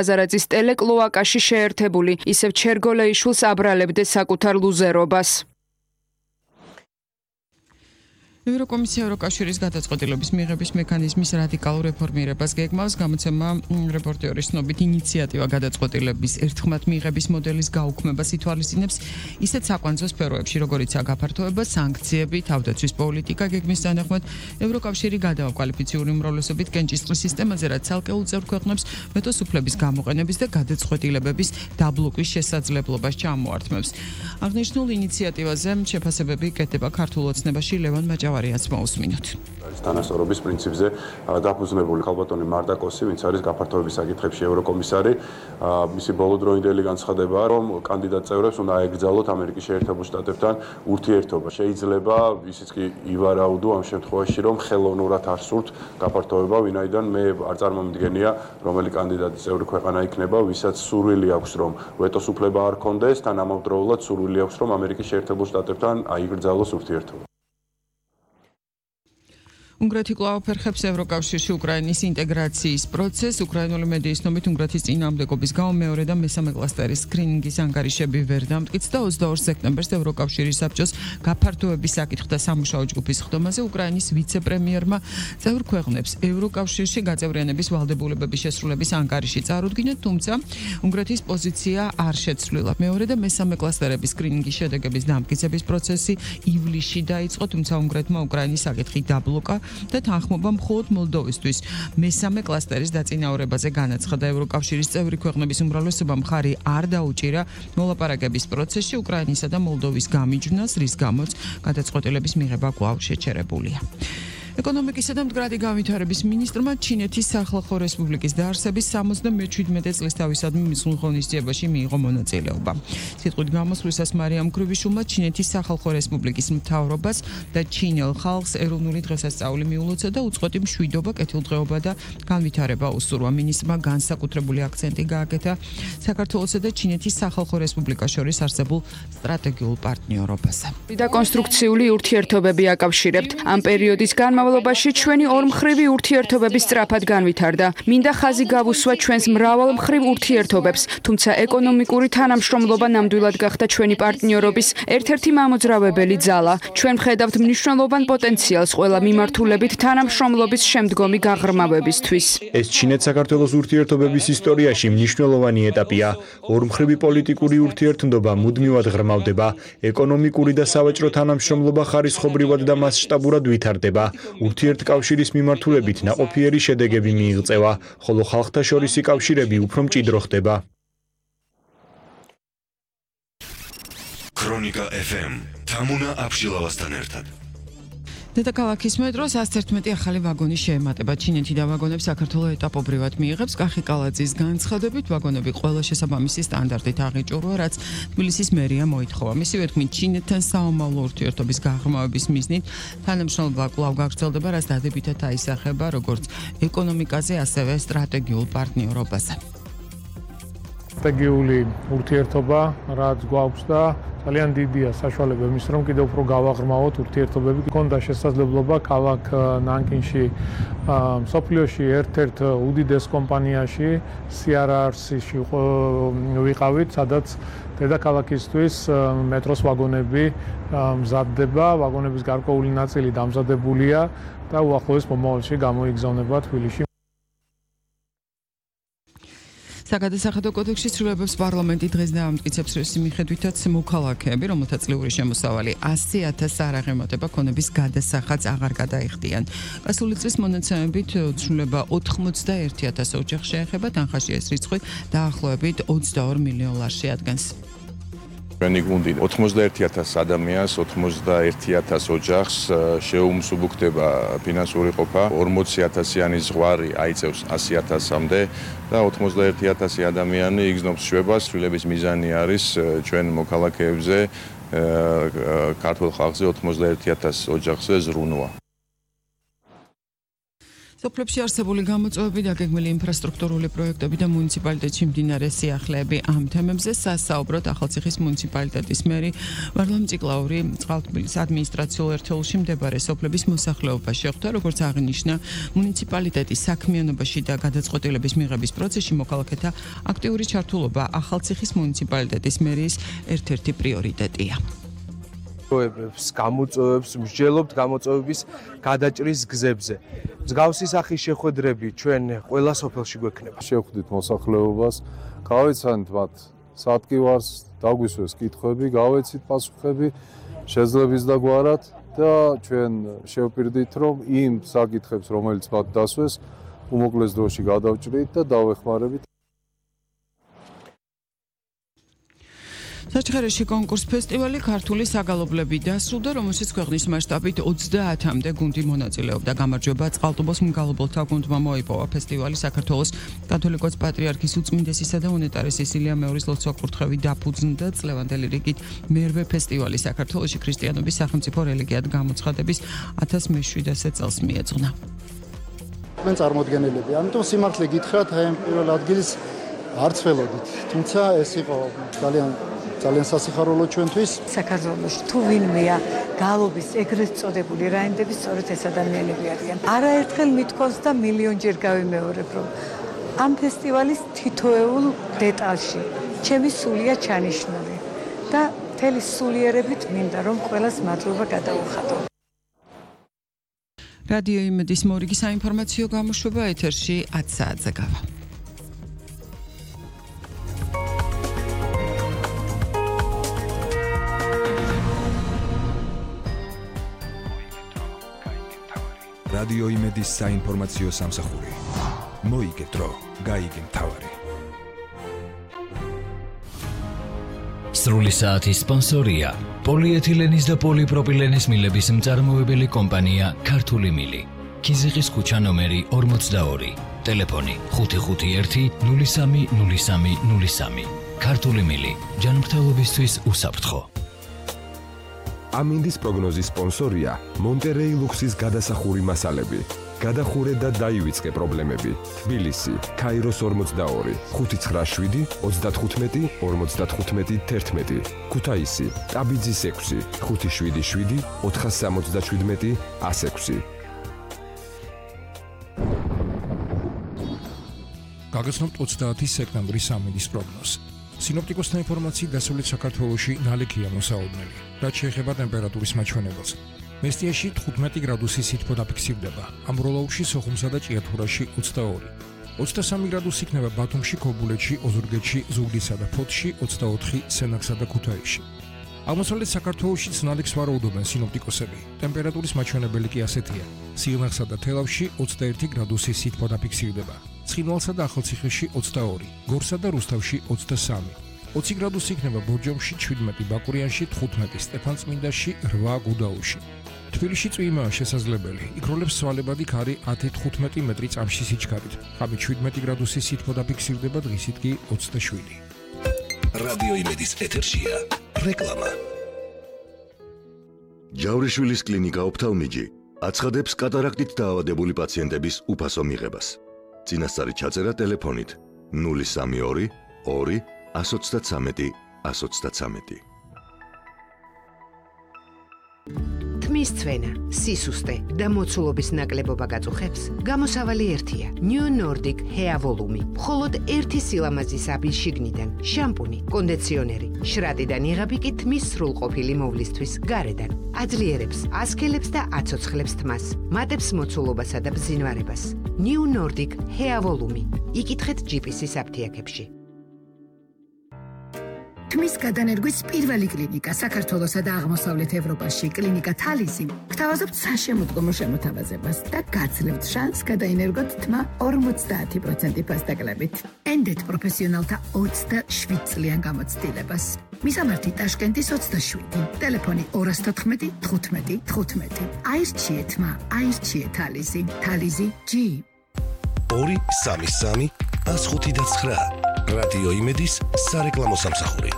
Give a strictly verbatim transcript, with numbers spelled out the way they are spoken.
აზარაძის ტელეკლოაკაში შეერთებული ისევ ჩერგოლეიშვილს აბრალებდეს საკუთარ ლუზერობას. ევროკომისია ევროკავშირის გადაწყვეტილების მიღების მექანიზმის რადიკალურ რეფორმირებას გეგმავს. გამოცემა რეპორტიორის ცნობით ინიციატივა გადაწყვეტილების ერთხმად მიღების მოდელის გაუქმებას ითვალისწინებს ისეთ საკვანძო სფეროებში, როგორიცაა გაფართოება, სანქციები, თავდაცვის პოლიტიკა. გეგმის თანახმად ევროკავშირი გადააკვალიფიციური უმრავლესობით კენჭისყრის სისტემაზე, რაც ცალკეულ წევრ ქვეყნებს ვეტოს უფლების გამოყენების და გადაწყვეტილებების დაბლოკვის შესაძლებლობას ჩამოართმევს. აღნიშნულ ინიციატივაზე შეფასებები კეთდება ქართულ ოცნებაში. ლევან მაჭავარიას მოусმინოთ. თანასწორობის პრინციპზე დაფუძნებული ხალბატონი მარტაკოსი, ვინც არის გაფართოების საკითხებში ევროკომისარი, მისი ბოლოდროინდელი განცხადებაა, რომ კანდიდატ წევრებს უნდა აეკრძალოთ ამერიკის შეერთებულ შტატებთან ურთიერთობა. შეიძლება ისიც კი ივარაუდო ამ შემთხვევაში, რომ ხელოვნურად არ სურთ გაფართოება, ვინაიდან მე არ წარმომიდგენია, რომელი კანდიდატი წევრი ქვეყანა იქნება, ვისაც სურვილი აქვს, რომ ვეტოს უფლება არ ქონდეს, თან ამავდროულად სურვილი აქვს, რომ ამერიკის შეერთებულ შტატებთან აიკრძალოს ურთიერთობა. უნგრეთი კვლავ ფერხებს ევროკავშირში უკრაინის ინტეგრაციის პროცესს. უკრაინული მედიის ცნობით უნგრეთის წინააღმდეგობის გამო მეორე და მესამე კლასტერის სკრინინგის ანგარიშები ვერ დამტკიცდა და ოცდაორ სექტემბერს ევროკავშირის საბჭოს გაფართოების საკითხთა სამუშაო ჯგუფის ხდომაზე უკრაინის ვიცე-პრემიერმა წევრ ქვეყნებს ევროკავშირში გაწევრიანების ვალდებულებების შესრულების ანგარიში წარუდგინა, თუმცა უნგრეთის პოზიცია არ შეცვლილა. მეორე და მესამე კლასტერების სკრინინგის შედეგების დამტკიცების პროცესი ივლისში დაიწყო, თუმცა უნგრეთმა უკრაინის საკითხი დაბლოკა და თანხმობა მხოლოდ მოლდოვისთვის მესამე კლასტერის დაწინაურებაზე განაცხადა. ევროკავშირის წევრი ქვეყნების უმრავლესობამ მხარი არ დაუჭირა მოლაპარაკების პროცესში უკრაინისა და მოლდოვის გამიჯვნას, რის გამოც გადაწყვეტილების მიღება კვლავ შეჩერებულია. ეკონომიკისა და მდგრადი განვითარების მინისტრმა ჩინეთის სახალხო რესპუბლიკის დაარსების სამოცდამეჩვიდმეტე წლისთავისადმი მისულ ღონისძიებაში მიიღო მონაწილეობა. სიტყვით გამოსვლისას მარიამ კრივიშულმა ჩინეთის სახალხო რესპუბლიკის მთავრობას და ჩინელ ხალხს ეროვნული დღესასწაული მიულოცა და უწყვეტი მშვიდობა, კეთილდღეობა და განვითარება უსურვა. მინისტრმა განსაკუთრებული აქცენტი გააკეთა საქართველოსა და ჩინეთის სახალხო რესპუბლიკას შორის არსებულ სტრატეგიულ პარტნიორობაზე. და კონსტრუქციული ურთიერთობები აკავშირებთ. ამ პერიოდის განმავლობაში ჩვენი ორმხრივი ურთიერთობები სწრაფად განვითარდა. მინდა ხაზი გავუსვა ჩვენს მრავალმხრივ ურთიერთობებს, თუმცა ეკონომიკური თანამშრომლობა ნამდვილად გახდა ჩვენი პარტნიორობის ერთ-ერთი მამოძრავებელი ძალა. ჩვენ ვხედავთ მნიშვნელოვან პოტენციალს ყველა მიმართულებით თანამშრომლობის შემდგომი გაღრმავებისთვის. ეს ჩინეთ-საქართველოს ურთიერთობების ისტორიაში მნიშვნელოვანი ეტაპია. ორმხრივი პოლიტიკური ურთიერთობა მუდმივად ღრმავდება, ეკონომიკური და სავაჭრო თანამშრომლობა ხარისხობრივად და მასშტაბურად ვითარდება. ურთიერთკავშირის მიმართულებით ნაყოფიერი შედეგები მიიღწევა, ხოლო ხალხთა შორისი კავშირები უფრო მჭიდრო ხდება. ქრონიკა ეფ ემ თამუნა აბშილავასთან ერთად. დედაქალაქის მეტროს ასი ერთმეტი ახალი ვაგონი შეემატება. ჩინეთი და ვაგონებს საქართველოს ეტაპობრივად მიიღებს. კახი კალაძის განცხადებით, ვაგონები ყველა შესაბამისი სტანდარტით აღიჭურვა, რაც თბილისის მერია მოითხოვა. მისივე თქმით, ჩინეთთან საომავლო ურთიერთობის გაღრმავების მიზნით თანამშრომლობა კვლავ გაგრძელდება, რაც დადებითად აისახება როგორც ეკონომიკაზე, ასევე სტრატეგიულ პარტნიორობაზე. სტრატეგიული ურთიერთობა, რაც გვაქვს და ძალიან დიდია საშუალება იმის, რომ კიდევ უფრო გავაღრმავოთ ურთიერთობები. გქონდა შესაძლებლობა ქალაქ ნანკინში, მსოფლიოში ერთ-ერთ უდიდეს კომპანიაში სი არ არ სი-ში ვიყავით, სადაც დედაქალაქისთვის მეტროს ვაგონები მზადდება, ვაგონების გარკვეული ნაწილი დამზადებულია და უახლოეს მომავალში გამოიგზავნება თბილისში. საგადასახადო კოდექსის ცვლილებებს პარლამენტი დღეს დაამტკიცებს, რის მიხედვითაც მოქალაქეები, რომელთა წლიური შემოსავალი ასი ათასს არ აღემატება, ქონების გადასახადს აღარ გადაიხდიან. გასული წლის მონაცემებით ცვლილება ოთხმოცდაერთი ათას ოჯახს შეეხება, თანხაში ეს რიცხვი დაახლოებით ოცდაორ მილიონ ლარს შეადგენს. ჩვენი გუნდი ოთხმოცდაერთი ათას ადამიანს, ოცდაერთი ათას ოჯახს შეუმსუბუქდება ფინანსური ყოფა, ორმოცი ათასიანი ზღვარი აიწევს ასი ათასამდე და ოთხმოცდაერთი ათასი ადამიანი იგზნობს შვებას. ცვლილების მიზანი არის ჩვენ მოქალაქეებზე, ქართულ ხალხზე ოთხმოცდაერთი ათას ოჯახზე ზრუნვა. სოფლებში არსებული გამოწვევები, დაგეგმილი ინფრასტრუქტურული პროექტები და მუნიციპალიტეტში მდინარე სიახლეები ამ თემებზე სასაუბროთ ახალციხის მუნიციპალიტეტის მერი ვარლამ ციკლაური წყალთბილის ადმინისტრაციულ ერთეულში მდებარე სოფლების მოსახლეობას შეხვდა, როგორც აღნიშნა, მუნიციპალიტეტის საქმიანობაში და გადაწყვეტილების მიღების პროცესში მოქალაქეთა აქტიური ჩართულობა ახალციხის მუნიციპალიტეტის მერიის ერთ-ერთი პრიორიტეტია. პროექტებს, გამოწვევებს, მსჯელობთ გამოწვევების გადაჭრის გზებზე. მსგავსი სახის შეხვედრები ჩვენ ყველა სოფელში გვექნება. შევხვდით მოსახლეობას, გავეცანით მათ სატკივარს, დაგვისვეს კითხვები, გავეცით პასუხები, შეძლების და გვარად და ჩვენ შევპირდით, რომ იმ საკითხებს, რომელიც მათ დასვეს, უმოკლეს დროში გადავჭრით და დავეხმარებით. საჩხერეში კონკურს ფესტივალი ქართული საგალობლები დასრულდა, რომელშიც ქვეყნის მასშტაბით ოცდაათამდე გუნდი მონაწილეობდა. გამარჯვება წყალტუბოს მგალობელთა გუნდმა მოიპოვა. ფესტივალი საქართველოს კათოლიკოს პატრიარქის უწმინდესისა და უნეტარესის ილია მეორის ლოცვა-კურთხევი დაფუძნდა. წლევანდელი რიგით მერვე ფესტივალი საქართველოში ქრისტიანობის სახელმწიფო რელიგიად გამოცხადების ათას მეშვიდასე წელს მიეძღვნა. ჩვენ წარმოდგენელები, ამიტომ სიმართლე გითხრათ, აი პირველ ადგილს არც ველოდით. თუმცა ეს იყო ძალიან ძალიან სასიხარულო ჩვენთვის. საქართველოში თუ ვინმეა გალობის ეგრეთ წოდებული რაინდები, სწორედ ეს ადამიანები არიან. არაერთხელ მithქვავს და მილიონჯერ გავიმეორებ, რომ ამ ფესტივალის თითოეულ დეტალში ჩემი სულია ჩანიშნული და მთელი სულიერებით მინდა რომ ყველას მადლობა გადაუხადო. რადიო იმედის მორიგი საინფორმაციო გამოშვება ეთერში ათ საათზე გავა. რადიო იმედის საინფორმაციო სამსახური. მოიგეთ დრო, გაიგე მთავარი. სრული საათის სპონსორია პოლიეთილენის და პოლიპროპილენის მილების მწარმოებელი კომპანია ქართული მილი. ქიზიყის ქუჩა ნომერი ორმოცდაორი. ტელეფონი ხუთი ხუთი ერთი ნული სამი ნული სამი ნული სამი. ქართული მილი. ჯანმრთელობისთვის უსაფრთხო. ამინდის პროგნოზის სპონსორია მონტერეი ლუქსის გადასახური მასალები. გადახურე და დაივიწყე პრობლემები. თბილისი, ქაიროს ორმოცდაორი, ხუთი ცხრა შვიდი ოცდათხუთმეტი ორმოცდათხუთმეტი თერთმეტი. ქუთაისი, ტაბიძის ექვსი, ხუთი შვიდი შვიდი ოთხასამოცდაშვიდმეტი ასექვსი. გაგაცნობთ ოცდაათი სექტემბრის ამინდის პროგნოზს. სინოპტიკოსთა ინფორმაციით დასავლეთ საქართველოში ნალექია მოსაოდნელი. რაც შეეხება ტემპერატურის მაჩვენებელს. მესტიაში თხუთმეტი გრადუსი სითბო დაფიქსირდება. ამბროლაურში, სოხუმსა და ჭიათურაში ოცდაორი. ოცდასამი გრადუსი იქნება ბათუმში, ქობულეთში, ოზურგეთში, ზუგდიდსა და ფოთში, ოცდაოთხი სენაკსა და ქუთაისში. აღმოსავლეთ საქართველოშიც ნალექს ვარაუდობენ სინოპტიკოსები. ტემპერატურის მაჩვენებელი კი ასეთია. სიღნაღსა და თელავში ოცდაერთი გრადუსი სითბო დაფიქსირდება. ცხინვალსა და ახალციხეში ოცდაორი, გორსა და რუსთავში ოცდასამი. ოცი გრადუსი იქნება ბორჯომში, შვიდმეტი ბაკურიანში, თხუთმეტი სტეფანწმინდაში, რვა გუდაუში. თბილისში წვიმაა შესაძლებელი. იქროლებს სვალებადი ქარი ათი თხუთმეტი მეტრი წამში სიჩქარით. ღამით შვიდმეტი გრადუსი სითბო დაფიქსირდება, დღისით კი ოცდაშვიდი. რადიო იმედის ეთერშია რეკლამა. ჯავრიშვილის კლინიკა ოფთალმიჯი აცხადებს კატარაქტით დაავადებული პაციენტების უფასო მიღებას. წინასწარი ჩაწერა ტელეფონით ნული სამი ორი ორი ას ოცდათსამეტი ას ოცდათსამეტი. თმის ცვენა, სისუსტე და მოცულობის ნაკლებობა გაწუხებს, გამოსავალი ერთია. New Nordic Hair Volume. მხოლოდ ერთი სილამაზის აბის შიგნიდან, შამპუნი, კონდიციონერი, შრატიდან იღები კი თმის სრულყოფილი მოვლისთვის გარედან. აძლიერებს, ასქელებს და აცოცხლებს თმას, მატებს მოცულობასა და ბზინვარებას. New Nordic Hair Volume. იკითხეთ ჯი პი სის აფთიაქებში. თმის გადანერგვის პირველი კლინიკა საქართველოსა და აღმოსავლეთ ევროპაში კლინიკა თალისი გთავაზობთ საშემოდგომო შემოთავაზებას და გაძლევთ შანსს გადაინერგოთ თმა ორმოცდაათი პროცენტი ფასდაკლებით. ენდეთ პროფესიონალთა ოცდაშვიდ წლიან გამოცდილებას. მისამართი ტაშკენტის ოცდაშვიდი, ტელეფონი ორას თოთხმეტი თხუთმეტი თხუთმეტი. აირჩიე თმა, აირჩიე თალისი, თალისი ჯი. ორი სამი სამი ას ხუთი და ცხრა. რადიო იმედის სარეკლამო სამსახური.